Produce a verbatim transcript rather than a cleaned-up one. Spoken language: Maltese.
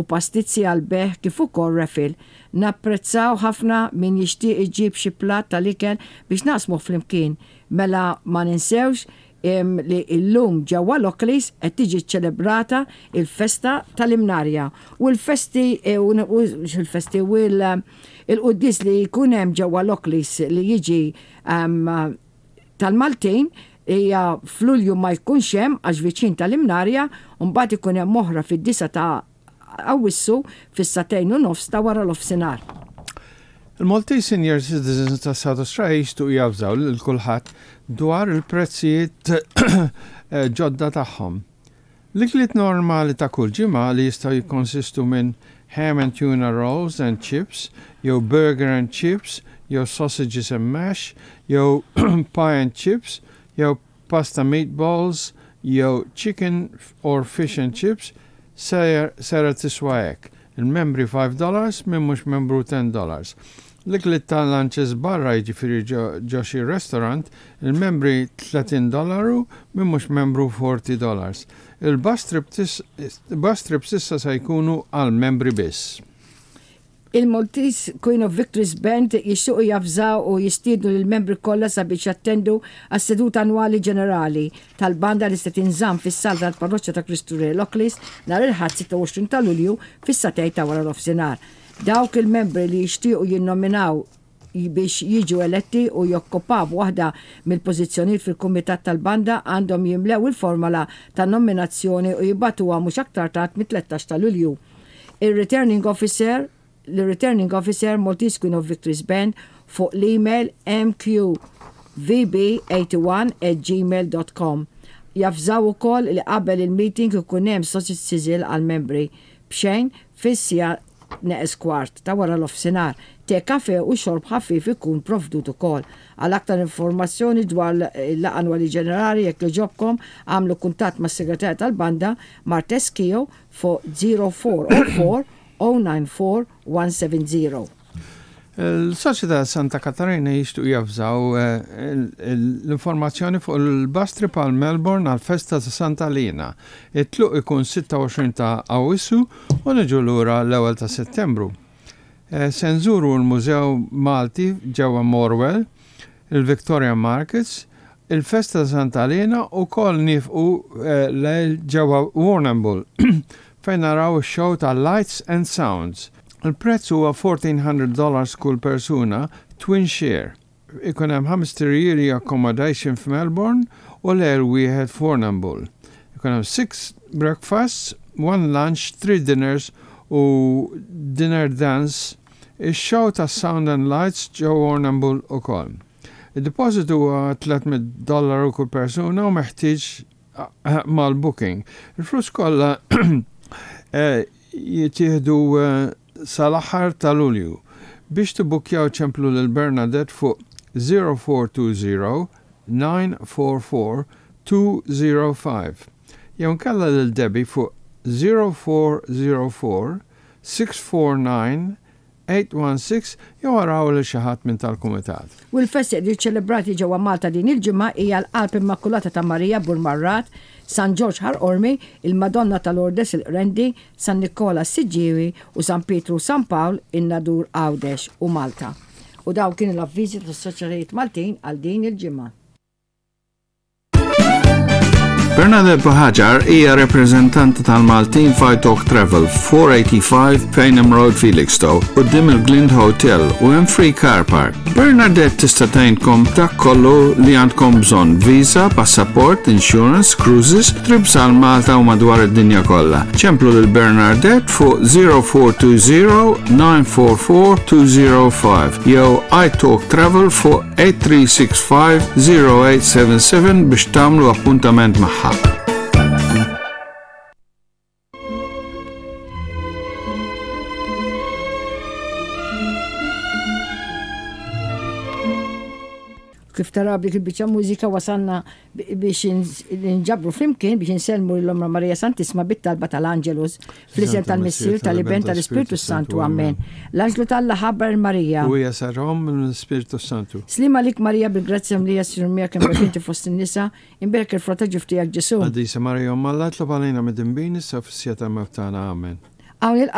pastizzi għall-bejgħ kif ukoll raffle. Napprezzaw ħafna min jixtieq iġib xi platt tal-ikel biex naqsmuh flimkien. Mela ma ninsewx li illum ġewwa Lockleys qed tiġi ċelebrata il-festa tal-Imnarja u l-festi e, u il-festi u il-quddies li jkun hemm ġewwa Lockleys li jiġi tal-Maltin hija f'Lulju ma jkunx hemm għax viċin tal-Imnarja u mbagħad ikun hemm oħra fid-disa ta' Awwissu fis-sagħtejn u nofs ta' wara l-ofsinhar. Il-Maltese Senior Citizens ta' South Australia jixtiequ javżaw lil kulħadd dwar il-prezzijiet ġodda tagħhom. L-ikliet normali ta' kull ġimgħa li jistgħu jikkonsistu minn ham and tuna rolls and chips, jew burger and chips, jew sausages and mash, jew pie and chips, jew pasta meatballs, jew chicken or fish and chips, sejra tiswa hekk. Il-membri five dollars, min mhux membru ten dollars. L-ikliet ta' lunches barra, jiġifieri ġo xi restaurant, il-membri thirty dollaru, min mhux membru forty dollars. Il-bus trips issa se jkunu għal-membri biss. Il-Maltese Queen of Victories Band jixtiequ javżaw u jistiednu lill-membri kollha sabiex jattendu għas-seduta annwali ġenerali tal-banda li se tinżamm fis-sala tal-Parroċċa ta' Kristu Re Lockleys nhar il-Ħadd sitta u għoxrin ta' Lulju fis-sagħtejn ta' wara nofsinhar. Dawk il-membri li jixtiequ jinnominaw biex jiġu eletti u jokkupaw waħda mill-pożizzjonijiet fil-kumitat tal-banda għandhom jimlew il-formola ta' nominazzjoni u jibagħtuha mhux aktar tard mit-tlettax ta' Lulju. Il-Returning Officer l-Returning Officer, Maltese Queen of Victories Band, fuq l-email M Q V B eighty-one at gmail dot com. Javżaw ukoll li qabel il-meeting ikun hemm sausage sizzle għal-membri b'xejn fis-siegħa neqes kwart ta' wara l-ofsinhar. Te, kafe u xorb ħafif ikun provdut ukoll. Għal aktar informazzjoni dwar l-laqgħa annwali ġenerali, jekk jogħġobkom għamlu kuntatt mas-segretarja tal-banda Martes Kio fuq zero four zero four zero nine four one seven zero. Il-Soċjetà Santa Katarina jixtiequ javżaw eh, l-informazzjoni fuq il-bus trip għal Melbourne għal festa ta' Santa Lina. It-tluq ikun sitta u għoxrin ta' Awwissu u niġu lura l-ewwel ta' Settembru. Eh, se nżuru l-Mużew Malti ġewwa Morwell, il-Victoria Markets, il-festa ta' Santa Lina u kol nieqfu eh, lejl ġewwa Warrnambool fejn naraw show ta' Lights and Sounds. Il-prezz huwa fourteen hundred dollars kull persuna, twin share. Ikun hemm ħames tirjiri accommodation f'Melbourne u lejl wieħed f'Warrnambool. Ikun hemm six breakfasts, one lunch, three dinners u dinner dance. Ix-show ta' Sound and Lights ġo Warrnambool ukoll. Il-deposit huwa tliet mitt dollaru kull persuna u meħtieġ eh, mal-booking. Il-flus kollha eh, jittieħdu eh, sal-aħħar ta' Lulju. Biex tibbukkjaw ċemplu lil Bernadette fuq zero four two zero nine four four two zero five. Jew nkella lil Debbie fuq zero four zero four six four nine eight one six jew araw lil xi ħadd minn tal-kumitat. U l-festi li ċelebrati ġewwa Malta din il-ġimgħa hija l-Qalb Immakulata ta' Marija Burmarrad, San Ġorġ Ħal Qormi, il-Madonna tal-Lourdes il-Qrendi, San Nikola Siġġiewi u San Pietru u San Pawl in-Nadur Għawdex u Malta. U daw kienu l-avviżi tas-soċjetajiet Maltin għal din il-ġimgħa. Bernadette Buhagiar hija rappreżentanta tal-Maltin f'I Talk Travel, four eighty-five Payneham Road, Felixstowe, quddiem il-Glind Hotel u hemm free car park. Bernadette tista' tgħinkom dak kollu li għandkom bżonn: visa, passaport, insurance, cruises, trips għal Malta u madwar id-dinja kollha. Ċemplu lil Bernadette fuq zero four two zero nine four four two zero five jew iTalk Travel fuq eight three six five zero eight seven seven biex tagħmlu appuntament magħha. Kif tara b'dik il-biċċa mużika wasalna biex nġabru flimkien biex insellmu 'l Ommna Marija Santissima bit-talba tal-Angelus, fl-isem tal-Missier, tal-Iben, tal-Ispirtu Santu. Amen. L-Anġlu t'Alla ħabbar 'l Marija. U hija saret omm mill-Ispirtu Santu. Sliema għalik Marija, bil-grazzja mimlija, Sinjur miegħek, imberka inti fost in-nisa, imberek il-frott ta' ġuf tiegħek Ġesu. Qaddisa Marija Omm Alla, itlob għalina midinbin, issa fis-siegħa ta' mewt tagħna. Amen. Hawn